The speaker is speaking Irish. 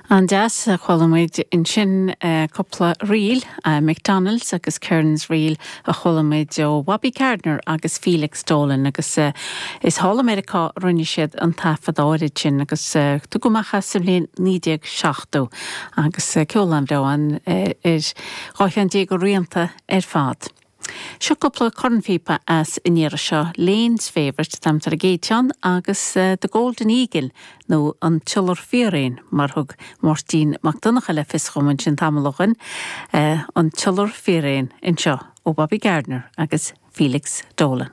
An-deas, chuala muid ansin cúpla ríl, McDonalds agus Kearns Reel a chuala muid ó Bhobby Gardiner agus Felix Dolan agus is thall i Meiriceá a rinne siad an taifead áirid sin agus tugadh amach é sa bhliain 1970 agus ceol an-bhreá ann ar 12 cheann de rianta ar fad. Seo cúpla cornphíopa as an iarraidh seo, Lane's Favourite atá ar an gcéad cheann agus The Golden Eagle nó An tIolar Fíréan mar thug Máirtín Mac Donncha le fios dhom ansin tamall ó shoin, An tIolar Fíréan anseo ó Bobby Gardiner agus Felix Dolan.